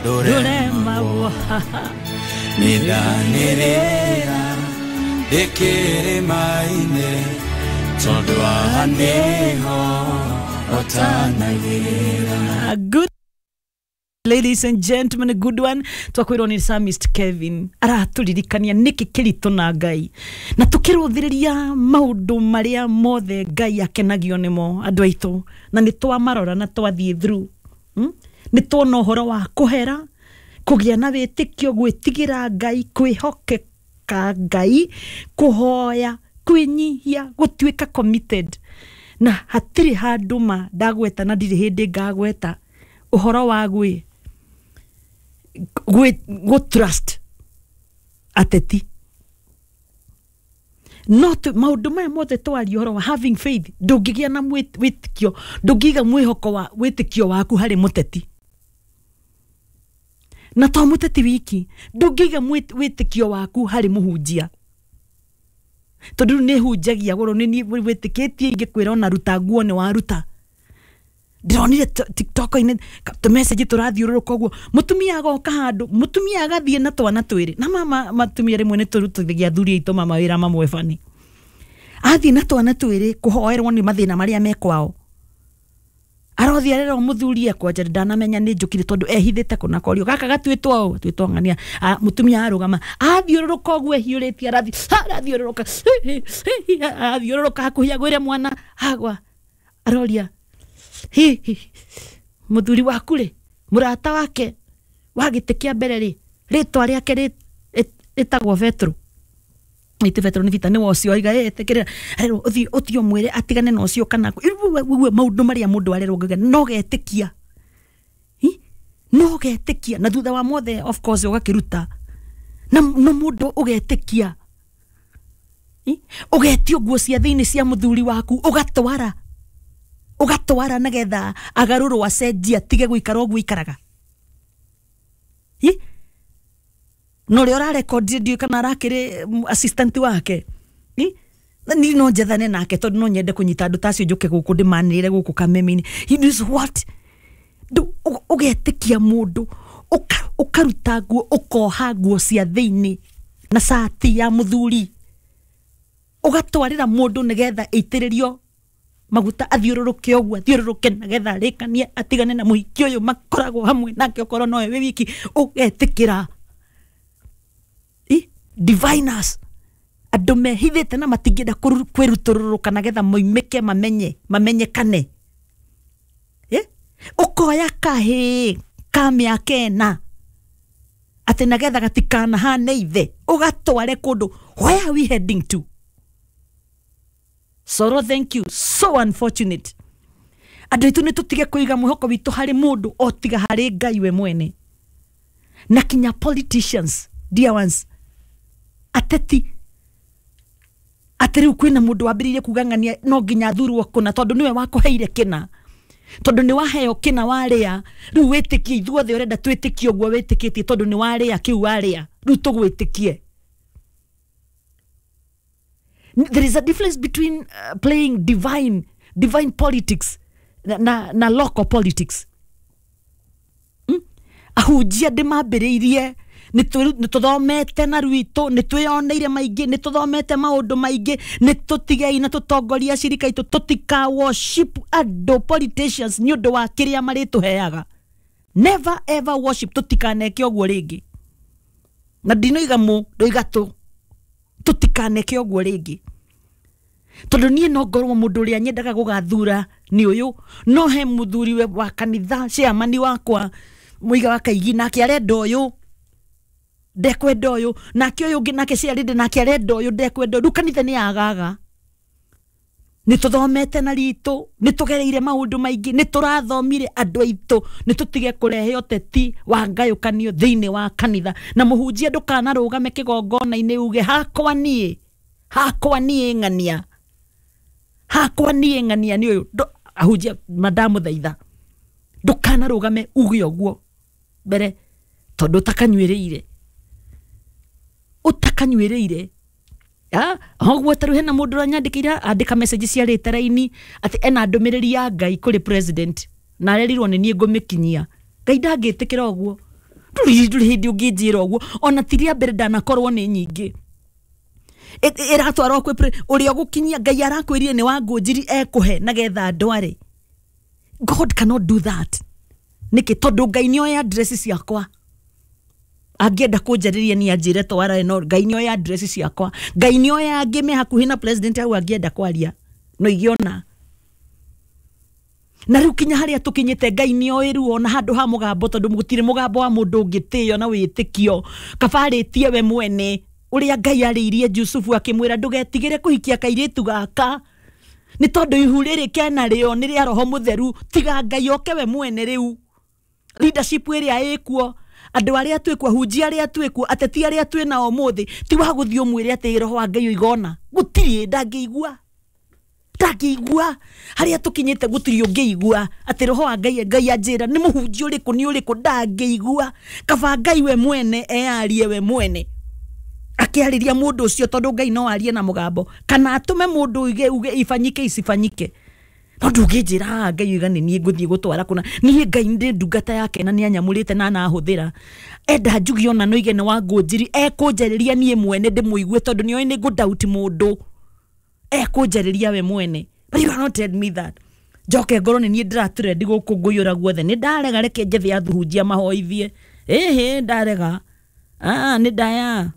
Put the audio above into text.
Ndũremagwo nĩndanĩrĩra ndĩkĩrĩma-inĩ tondũ haha nĩho hotanagĩra. Good ladies and gentlemen, a good one. Twakwirwo ni Psalmist Kevin araturirikania niki kiritu na Ngai, na tukiruthiriria maundu maria mothe Ngai akenagio nimo andu aitu, na ni twamarora na twathie through. Ni tuona uhoro wa kuhera, kugia na witikio, gwitigira Ngai, kwihokeka Ngai, kuhoya, kwinyihia, gutuika committed, na hatiri handu ma ndagweta na ndirĩ hĩndĩ ngagweta uhoro wa gwi gũ trust ateti. No maũndũ maya mothe twaria ũhoro wa having faith, ndũngĩgĩa na wĩtĩkio, ndũngĩiga mwĩhoko wa wĩtĩkio waku harĩ mũteti, na to mũteti wiki, ndũngĩiga wĩtĩkio waku harĩ mũhunjia, tondũ rĩu nĩ hunjagia goro nĩ niĩ wĩtĩkĩtie ingĩkwĩra ona ruta nguo nĩ waruta. Ndĩronire TikTok-inĩ tũmessage tũrathiũrũrũka ũguo, mũtumia agoka handũ, mũtumia agathiĩ na twana twĩrĩ, na mama matumia rĩmwe nĩ tũrutithagia athuri aitũ mama wĩra mamwe bani, athiĩ na twana twĩrĩ kũhoerwo nĩ mathĩna marĩa me kwao, arothiĩ arerwo mũthuri ekwanja ndanamenya nĩ njũkire tondũ ehithĩte kũna korio gaka gatuĩtwo ũũ gatuĩtwo ng'ania. Mũtumia arũgama athiũrũrũka ũguo ehiũrĩtie, arathiũrũrũka arathiũrũrũka hakuhĩ agwĩre mwana agwa, aroria hi hi mũthuri waku rĩ, mũrata wake wa gĩtĩ kĩa mbere rĩ, rĩtwa rĩake rĩtagwo Petro, ĩtĩ Petro nĩ Peter, nĩwe ũcio aiga etĩkĩrĩra, arerwo ũthiĩ ũthiĩ ũmwĩre atigane na ũcio kana ũguo maũndũ marĩa mũndũ arerwo ngauga no getĩkia, no getĩkia, na thutha wa mothe of course ũgakĩruta na no mũndũ ũgetĩkia, ũgetio nguo cia thĩinĩ cia mũthuri waku ũgatwara ũgatwara nagetha agarũrwo acenjie atige gũikara ũguo ikaraga. No ũrĩa ũrarekondire ndiũĩ kana arakĩrĩ assistant wake, ni no njethane nake tondũ no nyende kũnyita andũ ta acio njũke gũkũ ndĩmanĩrĩre gũkũ kameme-inĩ. He knows what ũgetĩkia mũndũ, ũkaruta nguo, ũkoha nguo cia thĩinĩ na cati ya mũthuri, ũgatwarĩra mũndũ nĩgetha ĩitĩrĩrio maguta athiũrũrũke ũguo athiũrũrũke nagetha arĩkanie atigane na mũhiki ũyũ makoragwo hamwe nake okorwo nowe wĩ wiki, ũgetĩkĩra. Diviners andũ mehithĩte na matingĩenda kwĩrutũrũrũka nagetha moimĩke mamenye mamenyekane. Ũkoya kahĩĩ ka mĩaka ĩna atĩ nagetha gatikanahane ithe, ũgatware kũndũ. Where are we heading to? Soro, thank you. So unfortunate. Andũ aitũ nĩ tũtige kũiga mwĩhoko witũ harĩ mũndũ o tiga harĩ Ngai we mwene. Na kinya politicians, dear ones, ateti, atĩ rĩu kwĩna mũndũ wambĩrĩirie kuga ng'ania no nginya athurwo kũna tondũ nĩwe wakũheire kĩna, tondũ nĩ waheo kĩna warĩa, rĩu wĩtĩkie ithuothe ũrenda twĩtĩkie ũguo wĩtĩkĩtie tondũ nĩ warĩa kĩu warĩa, rĩu tũgwĩtĩkie. There is a difference between playing divine politics na local politics. Ahunjia ndĩmambĩrĩirie nĩ tũthomete na rwitũ, nĩ twĩyoneire maingĩ, nĩ tũthomete maũndũ maingĩ, nĩ tũtigei na tũtongoria acirika aitũ tũtika worship andũ politicians nĩ ũndũ wa kĩrĩa marĩtũheaga. Never ever worship, tũtikaneke ũguo rĩngĩ. Na ndinoiga mũ, ndoiga tũ, tũtikaneke ũguo rĩngĩ. Tondũ niĩ no ngorwo mũndũ ũrĩa nyendaga gũgathura nĩ ũyũ, no he mũthuri wa kanitha chairman wakwa mũiga wa Kaigi nake arenda ũyũ, ndekwenda ũyũ, nake ũyũ ũngĩ nake ciarĩndĩ nake arenda ũyũ, ndekwenda ũyũ. Rĩu kanitha nĩ yagaga. Nĩ tũthomete na ritũ, nĩ tũgereire maũndũ maingĩ, nĩ tũrathomire andũ aitũ, nĩ tũtige kũrehe ũteti wa ngayũkanio thĩinĩ wa kanitha. Na mũhunjia ndũkanarũgame kĩgongona-inĩ uge hakwa niĩ ng'ania, hakwa niĩ ng'ania nĩ ũyũ. Ahunjia mandamũthaitha, ndũkanarũgame uge ũguo mbere tondũ ũtakanyuĩrĩire, ũtakanyuĩrĩire. Ũguo ta rĩu hena mũndũ ũranyandĩkĩire andĩka message ciarĩte raini atĩ ena ndũmĩrĩri ya Ngai kũrĩ president na arerirwo nĩ niĩ ngũmĩkinyia. Ngai ndangĩtĩkĩra ũguo. Ndũrĩ hĩndĩ ũngĩnjĩra ũguo ona ti rĩa mbere ndanakorwo nĩ nyingĩ. Ĩratwarwo kwĩ ũrĩa ũgũkinyia Ngai arakwĩrire nĩ wa Ngũnjiri ekũhe nagetha ndware. God cannot do that. Nĩkĩ? Tondũ Ngai nĩoĩ address ciakwa. Angĩenda kũnjarĩria ni anjĩre twara, no Ngai nĩoĩ address ciakwa. Ngai nĩoĩ angĩ me hakuhĩ na president hau angĩenda kwaria no igĩona. Na rĩu kinya harĩa tũkinyĩte Ngai nĩoĩ rĩu ona handũ ha mũgambo, tondũ gũtirĩ mũgambo wa mũndũ ũngĩtĩo na wĩtĩkio. Kaba arĩtie we mwene ũrĩa Ngai arĩirie Jusufu akĩmwĩra ndũgetigĩre kũhikia kairĩtu gaka nĩ tondũ ihu rĩrĩ kena rĩo nĩ rĩa Roho Mũtheru. Tiga Ngai oke we mwene. Rĩu leadership ĩrĩa ĩkuo, andũ arĩa twĩkuo, ahunjia arĩa twĩkuo, ateti arĩa twĩ nao ũmũthĩ, ti wa gũthiĩ ũmwĩre atĩ roho wa Ngai ũigona. Gũtirĩ, ndangĩigua, ndangĩigua. Harĩa tũkinyĩte gũtirĩ ũngĩigua atĩ roho wa Ngai, Ngai anjĩra nĩ mũhunjia ũrĩkũ nĩ ũrĩkũ, ndangĩigua. Kaba Ngai we mwene eyarie we mwene akĩarĩria mũndũ ũcio, tondũ Ngai no arie na mũgambo kana atũme mũndũ uge uge ifanyike isifanyike. No ndũngĩnjĩra haha Ngai oiga nĩ niĩ ngũthiĩ gũtwara kũna. Niĩ Ngai ndĩ ndungata yake na nĩ anyamũrĩte na anahũthĩra. Enda njuge ona no ige nĩ wa Ngũnjiri, ekũnjarĩria niĩ mwene ndĩmũigue, tondũ nĩoĩ nĩ ngũ-doubt mũndũ. Ekũnjarĩria we mwene. But you cannot tell me that njoke ngorwo nĩ niĩ ndĩratũrendi gũkũ ngũiyũra guothe. Nĩ ndarega, reke njethe athuhunjia mahoithie. Ĩhĩ, ndarega. Ah, nĩ ndaya.